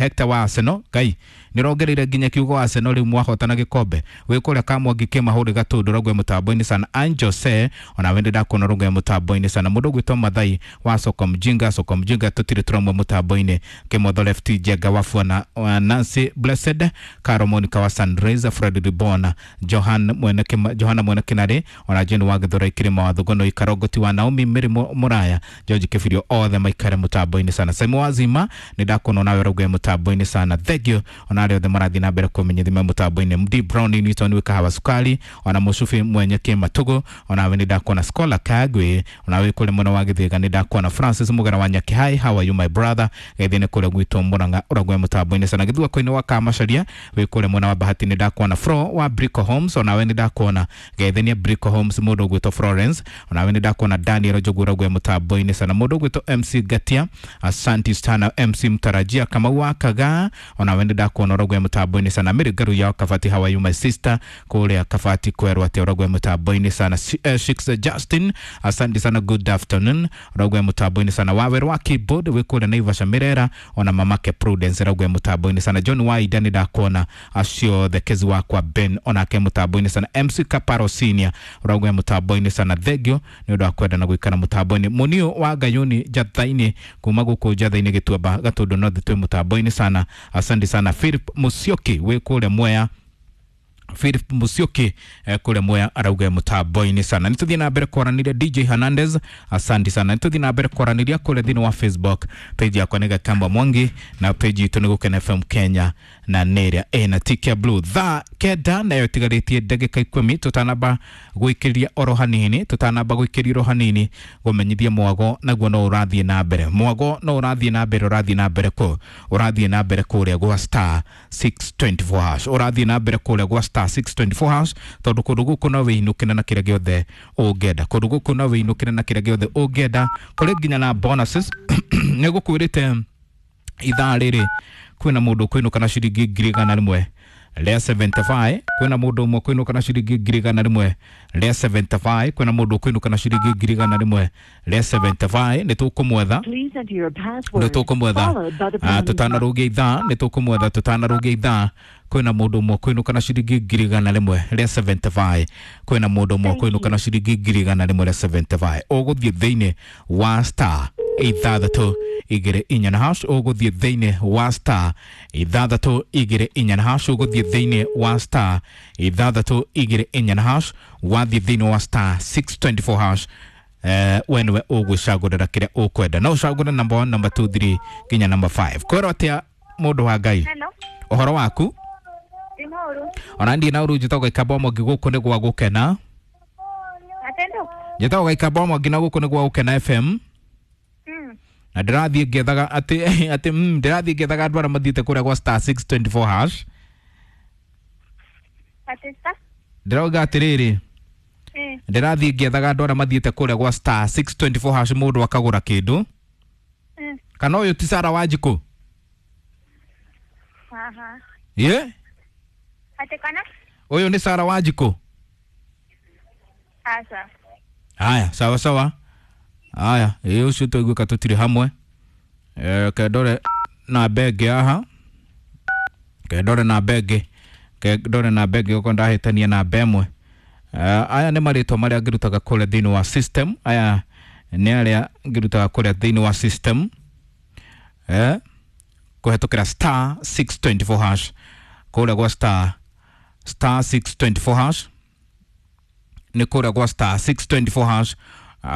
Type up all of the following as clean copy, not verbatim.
Hector wa Arsenal ngai nĩrongereire nginya kiugo Arsenal rĩu mwahotana gĩkombe wĩ kũrĩa Kamwangi kĩmahũrĩ Gatũndũ rauga mũtambo-inĩ sana. Anjose ona we ndakona rauga mũtambo-inĩ sana. Mũndũ ũgwĩtwo Mathai wa Soko Mjinga, Soko Mjinga tũtirĩ tũramwe mũtambo-inĩ. Kĩmotho Left Jenga wa Fuana wa Nancy Blessed Caro Monica wa Sunrise Fred Ribona Johan mwene Johana mwene Kinari ona Jane wa Gĩthũrai Kĩrĩma wa Thugono Ikarongoti wa Naomi Mary Muraya George Kibirio othe maikare mũtambo-inĩ sana. Simon Wazima nĩ ndakuona nawe rauga mũtambo-inĩ sana, thank you. Ona arĩa othe marathiĩ na mbere kũmenyithia mũtambo-inĩ MD Brown Newton wĩ kahawa sukari ona Mũcubi mwenye Kĩmatugu ona we nĩ ndakuona Scholar Kagwe ona we kũrĩa mwena wa Gĩthĩga nĩ ndakuona Francis Mugera wa Nyakĩhai, how are you my brother, gethĩ nĩ kũrĩa gwitũ Murang'a ũragwe mũtambo-inĩ sana. Gĩthua-inĩ wa Kamacaria wĩ kũrĩa mwena wa Bahati nĩ ndakuona Fro wa Brico Homes ona we nĩ ndakuona gethenia Brico Homes mũndũ ũgwĩtwo Florence ona we nĩ ndakuona Daniel Njogu ũragwe mũtambo-inĩ sana. Mũndũ ũgwĩtwo MC Gatia, asante sana MC Mtarajia Kamau wa Kaga ona we nĩ ndakuona ũragwe mũtambo-inĩ sana. Mary Ngaru ya Kabati, how are you my sister, kũrĩa Kabati kwerwo atĩa ũragwe mũtambo-inĩ sana. Shix Justin, asante sana, good afternoon ũragwe mũtambo-inĩ sana. Wawerũ wa keyboard wĩ kũrĩa Naivasha Mirera ona mamake Prudence ũragwe mũtambo-inĩ sana. John Waida nĩ ndakuona acio thekezi wakwa Ben onake mũtambo-inĩ sana. MC Kaparo Senior ũragwe mũtambo-inĩ sana, thengio nĩ ũndũ wa kwenda na gũikara mũtambo-inĩ. Munio wa Ngayuni Njatha-inĩ kuma gũkũ Njatha-inĩ Gĩtuamba Gatũndũ North twĩ mũtambo-inĩ sana, asante sana. Philip Musyoki wĩ kũrĩa Mwea, Philip Musyoki kũrĩa Mwea arauga mũtambo-inĩ sana. Nĩ tũthiĩ na mbere kwaranĩria DJ Hernandez, asante sana. Nĩ tũthiĩ na mbere kwaranĩria kũrĩa thĩinĩ wa Facebook page yakwa nĩ Gakamba Mwangi na page itũ nĩ Gũkena FM Kenya na nĩ ĩrĩa ĩna tick ya blue. Thaa 9 nayo ĩtigarĩtie ndagĩka 10 tũtanamba gwĩkĩria oro hanini, tũtanamba gwĩkĩria oro hanini gũmenyithia mwago naguo no ũrathiĩ na mbere, mwago no ũrathiĩ na mbere, ũrathiĩ na mbere kũ, ũrathiĩ na mbere kũrĩa gwa star 624 hash, ũrathiĩ na mbere kũrĩa gwa star 624 hash tondũ kũndũ gũkũ no wĩinũkĩre na kĩrĩa gĩothe ũngĩenda, kũndũ gũkũ no wĩinũkĩre na kĩrĩa gĩothe ũngĩenda, kũrĩ nginya na bonuses. Nĩ gũkwĩrĩte ithaa rĩrĩ kwĩna mũndũ ũkũinũka na ciringi 175,000, kwĩna mũndũ ũmwe ũkũinũka na ciringi 175,000, kwĩna mũndũ ũkũinũka na ciringi 175,000. Nĩ tũkũmwetha, Please enter your nĩ password tũkũmwetha followed by the pound tũtanarũgia ithaa, nĩ tũkũmwetha tũtanarũgia ithaa. Kwĩna mũndũ ũmwe ũkũinũka na ciringi 175,000, kwĩna mũndũ ũmwe Thank ũkũinũka you. na ciringi 175,000. Ũgũthiĩ thĩinĩ wa star 624 na hash, ũgũthiĩ thĩinĩ wa star 624 na hash, ũgũthiĩ thĩinĩ wa star 624 na hash, wathiĩ thĩinĩ wa star 624 hash, we nĩwe ũgwĩcagũrĩra kĩrĩa ũkwenda, no ũcagũre number 1, number 2, 3 nginya number 5. Kwĩrwo atĩa mũndũ wa Ngai, Hello, ũhoro waku? ndinoru. Ona ndiĩ na ũru, njĩtagwo Gĩkamba Mwangi, gũkũ nĩ gwa Gũkena. Atendo. Njĩtagwo Gĩkamba Mwangi na gũkũ nĩ gwa Gũkena FM. Na ndĩrathiĩ ngĩethaga atĩ ndĩrathiĩ ngĩethaga andũ arĩa mathiĩte kũrĩa gwa star 624 hash. Atista. Ndĩrauga atĩrĩrĩ, ndĩrathiĩ ngĩethaga andũ arĩa mathiĩte kũrĩa gwa star 624 hash mũndũ akagũra kĩndũ. Kana ũyũ ti Sara Wanjikũ? Aha. Ye? Ate kana? Ũyũ nĩ Sara Wanjikũ? Asa. Haya, sawa sawa. Haya, ĩ ũcio twaiguĩka tũtirĩ hamwe. Kendore namba ĩngĩ haha, kendore namba ĩngĩ, kendore namba ĩngĩ okorwo ndahĩtania namba ĩmwe. Aya nĩ marĩtwa marĩa ngĩrutaga kũrĩa thĩinĩ wa system, aya nĩ arĩa ngĩrutaga kũrĩa thĩinĩ wa system kũhetũkĩra star 624 hash, kũrĩa gwa star 624 hash, nĩ kũrĩa gwa star 624 hash.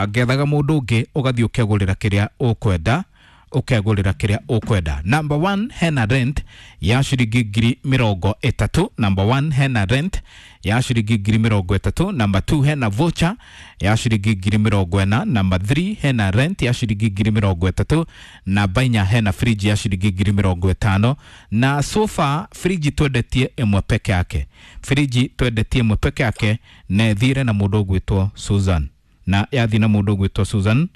Ngethaga mũndũ ũngĩ ũgathiĩ ũkegũrĩra kĩrĩa ũkwenda, ũkegũrĩra kĩrĩa ũkwenda. Number 1 hena rent ya ciringi 30,000, number 1 hena rent ya ciringi 30,000, number 2 hena voucher ya ciringi 40,000, number 3 hena rent ya ciringi 30,000, namba 4 hena fridge ya ciringi 50,000. Na sofa fridge twendetie ĩmwe peke yake, fridge twendetie ĩmwe peke yake na ĩthire na mũndũ ũgwĩtwo Susan, na yathiĩ na mũndũ ũgwĩtwo Susan,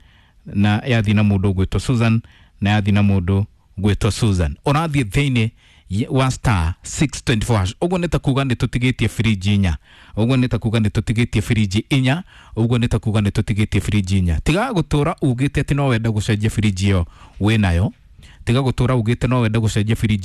na yathiĩ na mũndũ ũgwĩtwo Susan, na yathiĩ na mũndũ ũgwĩtwo Susan. Ũrathiĩ thĩinĩ wa star 624 hash, ũguo nĩ ta kuga nĩ tũtigĩtie firiji inya, ũguo nĩ ta kuga nĩ tũtigĩtie firiji inya, ũguo nĩ ta kuga nĩ tũtigĩtie firiji inya. Tiga gũtũra ugĩte atĩ no wende gũcenjia firiji ĩyo wĩnayo. Tiga gũtũra ugĩte no wende gũcenjia firiji.